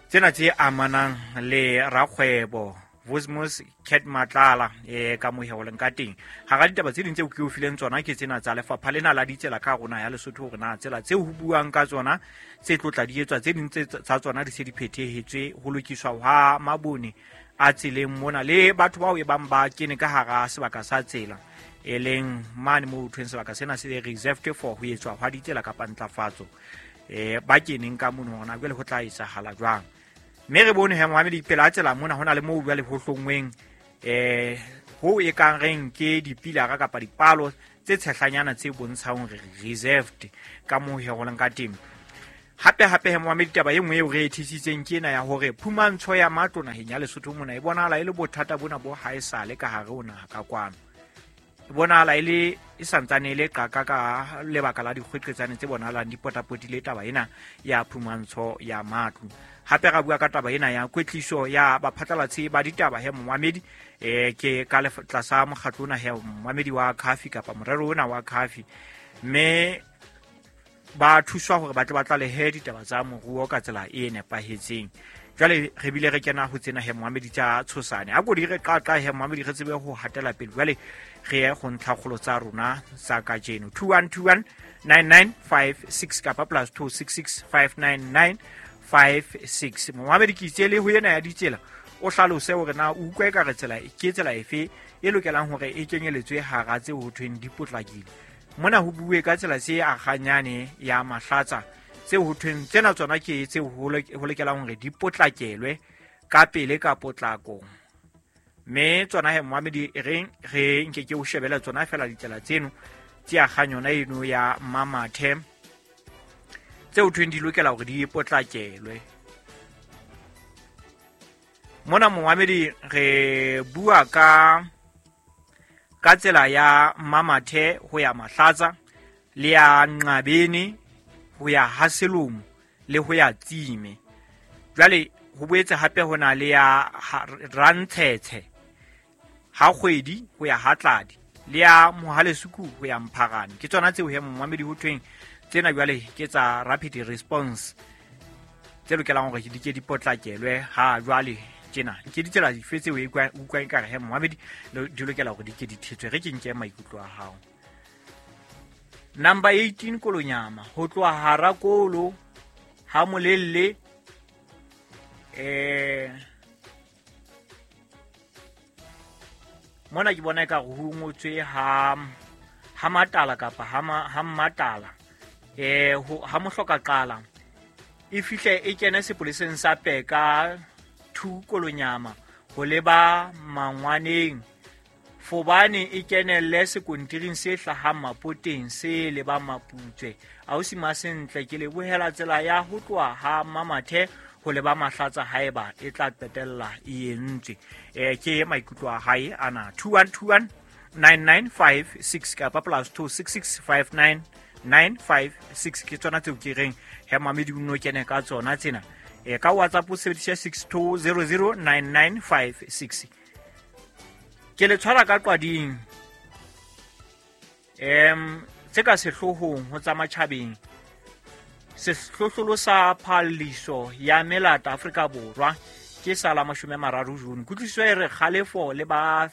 tsena tse amanang le rakgwebo Vosmos Cat Matlala e ka moheoleng ka teng. Hara ditaba tse ding tseo ke o fileng tsona ke tsena tsa lefapha lena la ditsela ka rona ya Lesotho hore na tsela tseo ho buang ka tsona tse tlotla di etswa tse ding tsa tsona di se di phethehetswe ho lokiswa ha mabone a tseleng mona le batho bao e bang ba kene ka hara sebaka sa tsela e leng mane mo thweng sebaka sena se reserved for ho etswa hwa ditsela kapa ntlafatso. eh ba keneng ka mono hona jwale ho tla etsahala jwang. Mme re bone he moamedi pela tsela mona hona le moo jwale ho hlongweng eh ho e kang reng ke dipilara kapa dipalo tse tshehlanyana tse bontshang hore reserved ka moo he ho leng ka teng. Hape hape he moamedi taba e nngwe eo re e thisitseng ke ena ya hore phumantsho ya matlo naheng ya Lesotho mona e bonahala e le bothata bona bo haesale ka hare ho naha ka kwano. E bonahala e le e santsane e le qaka ka lebaka la dikgweqetsane tse bonahalang di potapotile taba ena ya phumantsho ya matlo. Hape ra bua ka taba ena ya kwetliso ya baphatlalatsi ba ditaba he moamedi eh ke ka tlasa mokgatlo ona he moamedi wa Khafi kapa morero ona wa Khafi, mme ba thuswa hore ba tle ba tlalehe ditaba tsa moruo ka tsela e nepahetseng. Jwale re bile re kena ho tsena he moamedi tsa tshosane a ko di re qaqa he moamedi re tsebe ho hatela pele. Jwale re ye go ntlhakgolo tsa rona tsa kajeno two one two one nine nine five six kapa plus two six six five nine nine five six. Moamedi ke itse le ho ena ya ditsela o hlalose hore na o utlwa ekare tsela ke tsela efe e lokelang hore e kenyeletswe hara tse ho thweng di potlakile. Mona ho bue ka tsela tse akganyane ya Mahlatsa tse ho thweng tsena tsona ke tse ho lokelang hore di potlakelwe ka pele ka potlako. Mme tsona he moamedi re re nke ke o shebela tsona fela ditsela tseno tse akganyona eno ya Mamathe tse ho thweng di lokela hore di potlakelwe. Mona moamedi re bua ka ka tsela ya Mamathe ho ya Mahlatsa le ya Nqabeni ho ya Haselomo le ho ya Tsime. Jwale ho boetse hape ho na le ya Rantshetshe ha kgwedi ho ya Hatladi le ya Mohalesuku ho ya Mpharane. Ke tsona tseo he moamedi ho thweng tsena jwale ke tsa rapid response tse lokelang hore di ke di potlakelwe ha jwale tjena. Ke ditsela dife tseo e utlwang ekare he moamedi di lokela hore di ke di thetswe? Re ke nke maikutlo a hao. Number eighteen Kolonyama ho tloha hara kolo ha molelle eh mona ke bona ekare ho ngotswe ha ha matala kapa ha ha matala eh ha mohloka qala e fihle e kene sepoleseng sa Peka two Kolonyama ho leba Mangwaneng Fobane e kenelle sekontiring se hlahang Mapoteng se leba Maputswe. Ausi Masentle ke lebohela tsela ya ho tloha ha Mamathe ho leba Mahlatsa haeba e tla qetella e entswe. Eh ke maikutlo a hae ana two one two one nine nine five six kapa plus two six six five nine nine five six ke tsona tseo ke reng he mamedi o no kene ka tsona tsena. E ka WhatsApp o sebedisa six two zero zero nine nine five six. Ke le tshwara ka qwading em tse ka sehlohong ho tsa matjhabeng. Sehlohlolo sa phalliso ya melata Afrika Borwa ke sa la mashome a mararo June. Kutlwisiso e re kgalefo le ba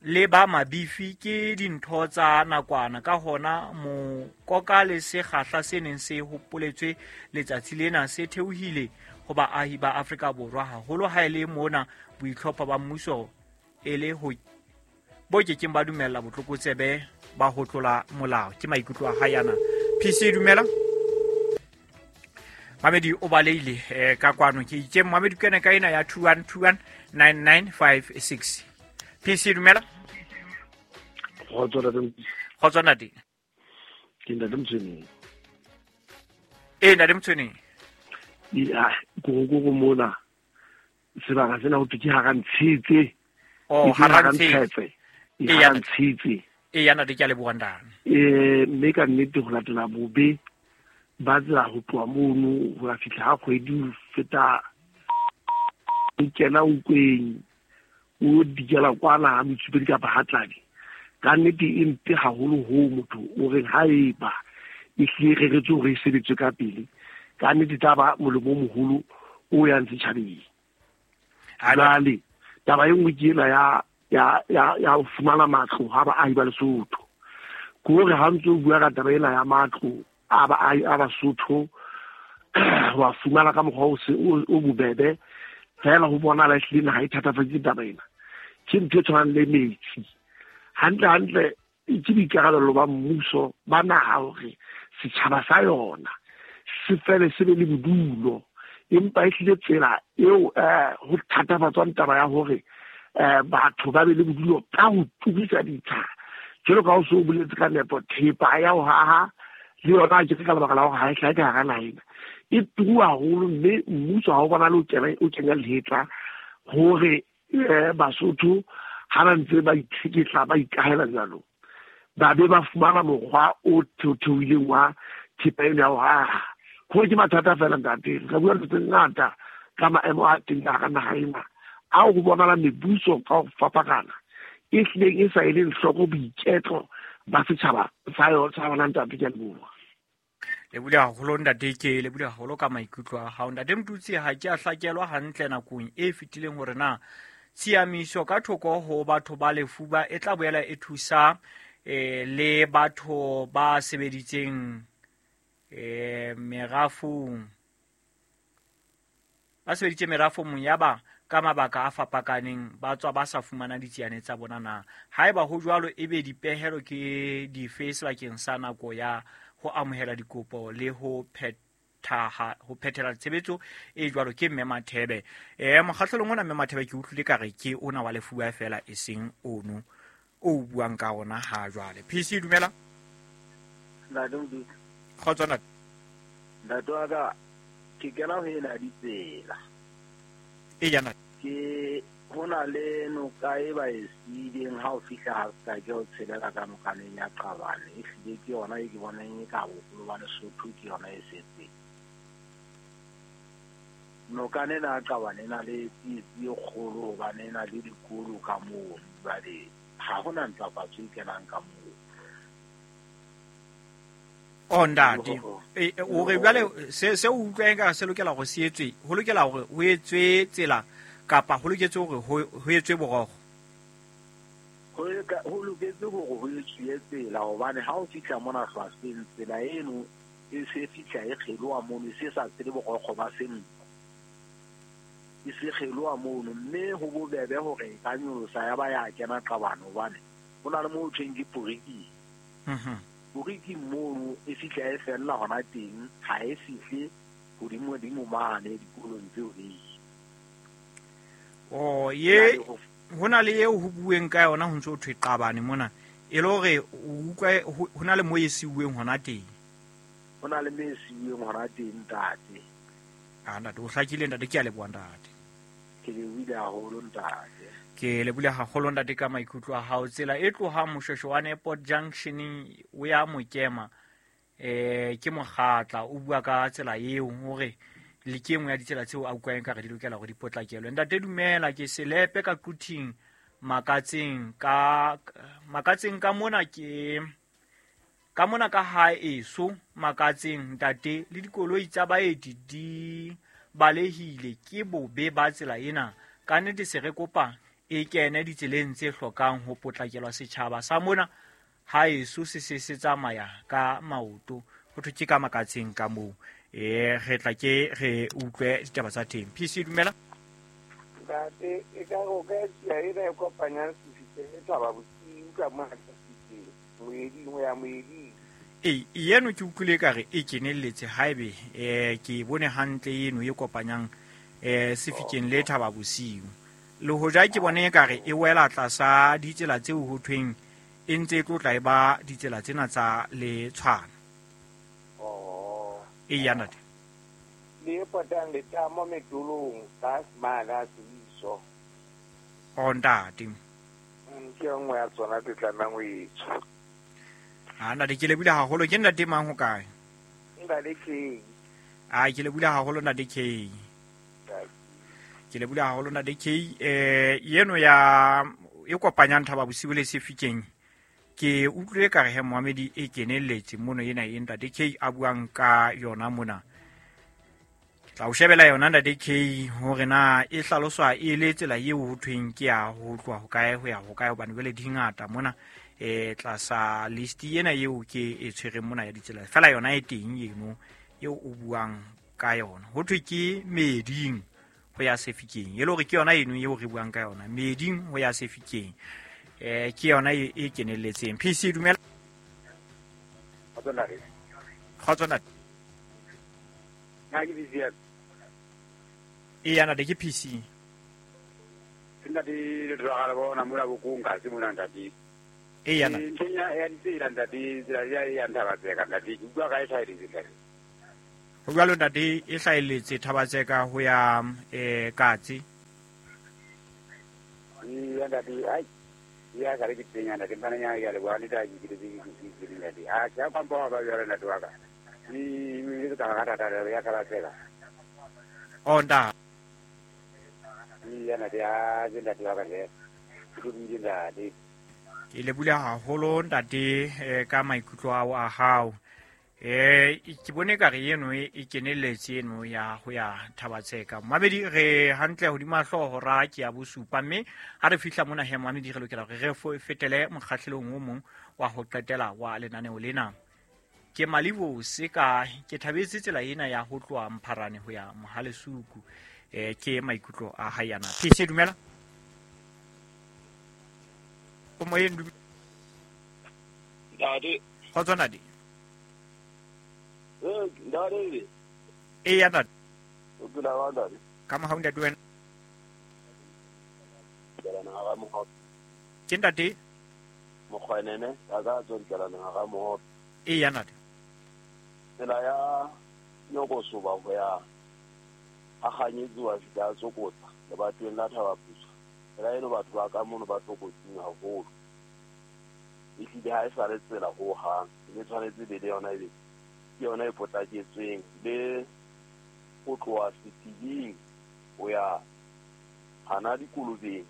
le ba mabifi ke dintho tsa nakwana, ka hona mokoka le sekgahla se neng se hopoletswe letsatsi lena se theohile ho baahi ba Afrika Borwa haholo ha e le mona boitlhopho ba mmuso e le ho bo kekeng ba dumella botlokotsebe ba ho tlola molao. Ke maikutlo a hae ana. P C dumela Mamedi o baleile eh, ka kwano ke itse Mamedi kene ka ena ya two one two one nine nine five six. P C dumela. Kgotso ntate. Ke ntate Motshweneng. Eh ntate Motshweneng. Ya go go go mona sebaka sena ho thwe ke hara Ntshetse. Oh hara Ntshetse. E ya Ntshetse. E ya ntate ke a leboha ntate. Eh mme ka nnete ho latela bobe ba tsela ho tloha mono ho ya fihla ha kgwedi ho feta o kena o kweng o dikela kwana ha Motsupedi kapa Hatladi. Ka nnete e mpe haholo ho motho o reng ha eba e hlile reretswe hore e sebetswe ka pele. Ka nnete taba molemo o moholo o yang setjhabeng. Jwale taba e nngwe ke ena ya ya ya ya ho fumana matlo ha baahi ba Lesotho. Ke hore ha ntse o bua ka taba ena ya matlo a baahi a Basotho wa fumana ka mokgwa o se o bobebe fela ho bonahala ehlile naha e thatafaditse taba ena. Ke ntho e tshwanang le metsi. Hantle hantle ke boikarabelo ba mmuso ba naha hore setjhaba sa yona se fele se be le bodulo. Empa e hlile tsela eo eh ho thatafatswang taba ya hore eh batho ba be le bodulo ka ho turisa ditsha jwalo ka o so boletse ka nepo, thepa ya ho haha le yona ke ka lebaka la hore ha e hlahe ka hara naha ena e turu haholo, mme mmuso ha o bona le o kena o kenya lehetla hore eh Basotho ha ba ntse ba itheketla ba ikahela jwalo ba be ba fumana mokgwa o theotheoileng wa thepa eno ya ho haha. Ho ke mathata fela ntate, re ka bua ntho tse ngata ka maemo a teng ka hara naha ena ao ho bonahala mebuso ka ho fapakana e hlileng e sa eleng hloko boiketlo ba setjhaba sa yona sa bona ntate. Ke a leboha. Le bule haholo ntate, ke le bule haholo ka maikutlo a hao ntate Motutsi. Ha ke a hlakelwa hantle nakong e fetileng hore na tshiamiso ka thoko ho batho ba lefuba e tla boela e thusa eh le batho ba sebeditseng eh merafong ba sebeditse merafong ya ba ka mabaka a fapakaneng ba tswa ba sa fumana ditsiane tsa bona na. Haeba ho jwalo, ebe dipehelo ke dife sebakeng sa nako ya ho amohela dikopo le ho phethaha ho phethela tshebetso e jwalo? Ke Mme Mathebe. Eh mokgahlelong ona Mme Mathebe ke utlwile ka re ke ona wa lefuba fela e seng ono o buang ka ona ha jwale. P C dumela. Ntate Modise. Kgotso ntate. Ntate wa ka ke kena ho ena ditsela. E yana. Ke hona le noka e ba e siileng ha o fihla ha ka ke o tshelela ka nokaneng ya Qabane. E hlile ke yona e ke bonang e ka boholo ba Lesotho ke yona e setseng. Nokane ena ya Qabane e na le tsietsi e kgolo hobane e na le dikolo ka moo, jwale ha hona ntlafatso e kenang ka moo. O ntate, o re jwale se se o utlwang ka se lokela hore se etswe, ho lokela hore ho etswe tsela kapa ho loketse hore ho etswe borokgo? Ho ho loketse hore ho etswe tsela hobane ha o fihla mona hlwahlweng tsela eno e se fihla e kgeloha mono, e se sa tsele borokgo ba senko, e se kgeloha mono, mme ho bobebe hore e ka nyolosa ya ba ya kena Qabane hobane ho na le moo ho thweng ke Poriking. Mhm. Poriking mono e fihla e fella hona teng, ha e fihle hodimo-dimo mane dikolong tseo di. Oh, ye hona le eo ho bueng ka yona ho ntso ho thwe Qabane mona e le hore o utlwa hona le mo e siuweng hona teng. Hona le mo e siuweng hona teng ntate. Ah ntate, o hlakile ntate, ke a leboha ntate. Ke lebohile haholo ntate. Ke lebohile haholo ntate ka maikutlo a hao. Tsela e tlohang Moshweshwe wa Airport Junction o ya Mokema eh ke mokgatla o bua ka tsela eo hore le ke nngwe ya ditsela tseo a utlwang ka re di lokela hore di potlakelwe. Ntate dumela, ke selepe ka Quthing Makatseng ka Makatseng ka mona ke ka mona ka ha eso Makatseng ntate le dikoloi tsa baeti di balehile ke bobe ba tsela ena. Ka nnete se re kopa e kene ditseleng tse hlokang ho potlakelwa setjhaba sa mona ha eso se se se tsamaya ka maoto. Ho thwe ke ka Makatseng ka moo. Eh re tla ke re utlwe ditaba tsa teng. P C dumela. Ntate e ka go ka tsia ena e kopanyang Sefikeng le Thaba Bosiu ka mona Sefikeng moeding ho ya moeding. E yeno ke utlwile ka re e kenelletse haebe eh ke bone hantle eno e kopanyang eh Sefikeng le Thaba Bosiu. Le hoja ke bone ka re e wela tlasa ditsela tseo ho thweng e ntse e tlotla e ba ditsela tsena tsa le tshwana. Oh. E ya ntate. Le potang le tamo metulong ka smala siso. O ntate. Ke nngwe ya tsona tse tlamehang ho etswa. Ah ntate ke lebile haholo. Ke ntate mang ho kae? Ntate K. Ah ke lebile haholo ntate K. Ke lebile haholo ntate K. Eh yeno ya e kopanyang Thaba Bosiu le Sefikeng ke utlwile ka re he Mohamedi e kenelletse mono ena e ntate K a buang ka yona mona. Ke tla o shebela yona ntate K hore na e hlaloswa e le tsela eo ho thweng ke ya ho tloha ho kae ho ya ho kae hobane jwale di ngata mona eh tlasa list ena eo ke e tshwereng mona ya ditsela fela yona e teng eno eo o buang ka yona. Ho thwe ke Meding ho ya Sefikeng e le hore ke yona eno eo re buang ka yona, Meding ho ya Sefikeng eh ke yona e kenelletseng. P C dumela. Kgotso ntate. Na ke P C. Eya ntate ke P C. Ntate le tloga le bona mola bokong ka se mona ntate. Eya ntate. Ntlheng ya ditsela ntate, tsela ya ya Thabatseka ntate, ke utlwa ka e hlahelletse ntate. Ho jwalo ntate, e hlahelletse Thabatseka ho ya eh Katse. Eya ntate, ai ya ka re ke teng ntate, mpana nya ya le bona le ta ke ke ke ke ntate. A ke a pampa ba jwalo ntate wa ka. Ni ni ka ga tata ya Thabatseka. Oh ntate. Eya ntate, a ke ntate wa ka le. Ke buile ntate. Ke lebohile haholo ntate ka maikutlo ao a hao. Eh ke bone ka re eno e kenelletse eno ya ho ya Thabatseka. Mamedi re hantle hodima hlooho ra ke ya bosupa, mme ha re fihla mona he mamedi re lokela hore re fetele mokgahlelong o mong wa ho qetela wa lenaneo lena. Ke Malibo seka ke thabetse tsela ena ya ho tloha Mpharane ho ya Mohalesuku. Eh ke maikutlo a hae yana. P C dumela. O moyeng dumela. Ntate. Kgotso ntate. Eh ntate. Eya ntate. O phela jwang ntate? Ka mohau ntate wena. Kelana hara mohope. Ke ntate? Mokgwenene, a ka tswa dikelana hara mohope. Eya ntate. Tsela ya Nyokosoba ho ya a kganyetsi wa fihla a tsokotsa lebatoweng la Thabaputswa. Tsela eno batho ba ka mono ba tlokotsing haholo. Ehlile ha e sa le tsela hohang, e tshwanetse be le yona ebe ke yona e potlaketsweng le ho tloha Setibing ho ya hana dikolobeng,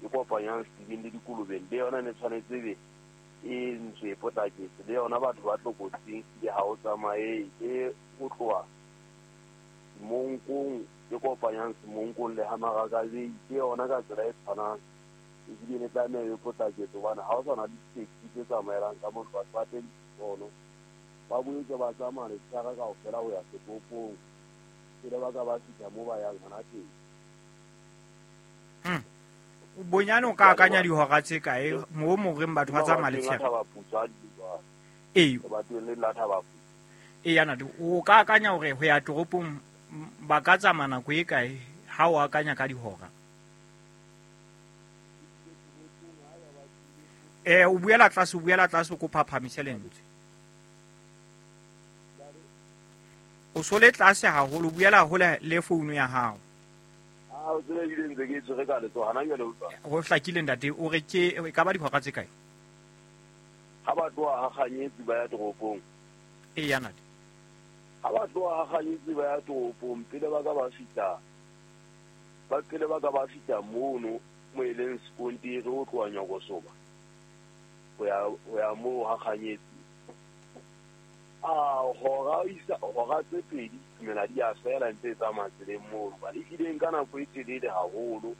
e kopanyang Setibing le dikolobeng, le yona ne tshwanetse be e ntswe e potlaketse, le yona batho ba tlokotsing le ha o tsamaye e ho tloha Semonkong e kopanyang Semonkong le Hamarakabei, ke yona ka tsela e tshwanang. Ebile ne tlameha e potlaketse hobane ha o sa na di-taxi tse tsamaelang ka motho, batho ba teng sono ba boetse ba tsamaya letshehare kaofela ho ya setoropong pele ba ka ba fihla moo ba yang hona teng. Bonyane o ka akanya dihora tse kae moo mo reng batho ba tsamaya letshehare? Ee. Lebatoweng le la Thabaputswa. Eya ntate, o ka akanya hore ho ya toropong ba ka tsamaya nako e kae ha o akanya ka dihora? Eh o buela tlase, o buela tlase, o kopa phahamisele lentswe. O sole tlase haholo, o buela hole le founu ya hao. Ah, o tsebe ebile ntse ke e tshwere ka letsoho hana jwale utlwa. Ho hlakile ntate, o re ke e ka ba dihora tse kae? Ha ba tloha ha kganyetsi ba ya toropong. Eya ntate. Ha ba tloha ha kganyetsi ba ya toropong pele ba ka ba fihla, ba pele ba ka ba fihla mono mo e leng sekontiri ho tloha Nyokosoba ho ya ho ya moo ha kganyetsi. A hora isa hora tse pedi tumela di a fela ntse e tsamaya tseleng mono. Ba ehlile nka nako e telele haholo.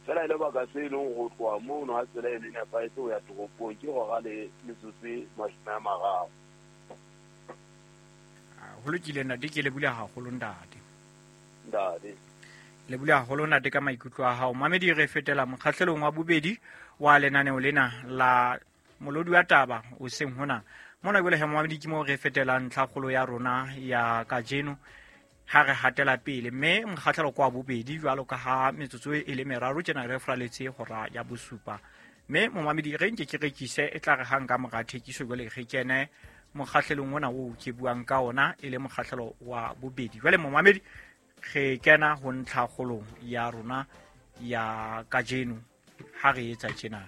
Fela e le baka se leng ho tloha mono ha tsela e le nepahetse ho ya toropong ke hora le metsotso e mashome a mararo. Ho lokile ntate, ke lebohile haholo ntate. Ntate. Lebohile haholo ntate ka maikutlo a hao. Mamedi re fetela mokgahlelong wa bobedi wa lenaneo lena la molodi wa taba o seng hona. Mona jwale he mamedi ke moo re fetelang ntlhakgolo ya rona ya kajeno ha re hatela pele, mme mokgahlelo kwa bobedi jwalo ka ha metsotso e le meraro tjena re fraletse hora ya bosupa. Mme momamedi re nke ke rekise e tla re hang ka mora thekiso jwale re kene mokgahlelong ona oo ke buang ka ona e le mokgahlelo wa bobedi. Jwale momamedi re kena ho ntlhakgolong ya rona ya kajeno ha re etsa tjena.